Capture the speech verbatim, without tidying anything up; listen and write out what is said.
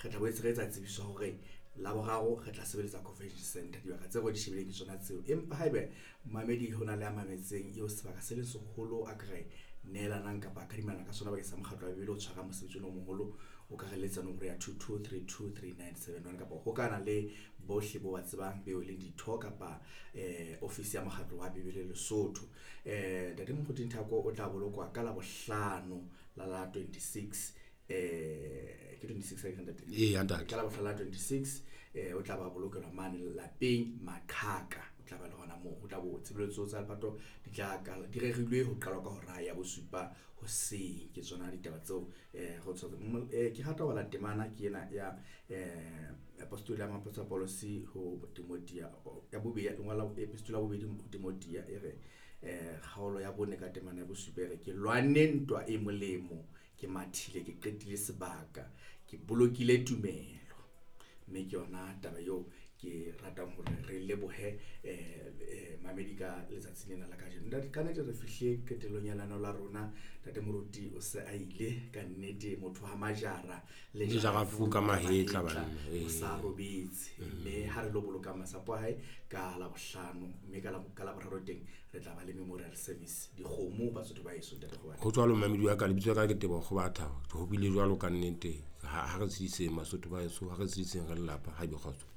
Re tla boetse re etsa tsebiso hore Laboraro re tla sebeletsa convention center. Dibaka tseo re di shebileng ke tsona tseo, empa haebe mamedi ho na le a mametseng eo sebaka se leng seholo a ka re nehelanang kapa kadimana ka sona bakeng sa mokgatlo wa Bibele o tshwara mosebetsi ona o moholo, o ka re letsa nomoro ya two two three two three nine seven one kapa ho kana le bohle bo ba tsebang beo leng ditho kapa eh ofisi ya mokgatlo wa Bibele Lesotho. eh Ntate Moruti Nthako o tla bolokwa ka Labohlano la la twenty-six, eh ke twenty-six ha ke ntate? Ee, ntate. Ka Labohlano la twenty-six, eh o tla ba bolokelwa mane lapeng Maqhaka, o tla ba le hona moo. Ho tla bo tshebeletso tsa lepato di tla qala, di rerilwe ho qalwa ka hora ya bosupa hoseng. Ke tsona ditaba tseo eh go tshwara. Eh ke rata ho bala temana ke ena ya eh apostoli ya Moapostola Paulus ho Timothea ya bobedi, ya ngola epistole ya bobedi ho Timothea e re eh kgaolo ya bone ka temana ya bosupa e re, ke lwanne ntwa e molemo, ke mathile, ke qetile sebaka, ke bolokile tumelo. Mme ke yona taba eo ke ratang hore re lebohe eh eh mamedi ka letsatsi lena la kajeno. Ntate, ka nnete re fihle qetellong ya lenaneo la rona. Ntate Moruti o se a ile ka nnete, motho ha majara le Le jara fu ka mahetla banna, o sa robetse. Mme ha re lo boloka masapo a hae ka Labohlano, mme ka la ka Laboraro teng re tla ba le memorial service. Dikgomo Basotho ba heso, ntate Kgobatha. Ho jwalo mamedi wa ka, lebitso la ka ke Teboho Kgobatha. Ho bile jwalo ka nnete. Ha ha re tshediseng Basotho ba heso, ha re tshediseng re lelapa, ha ebe kgotso.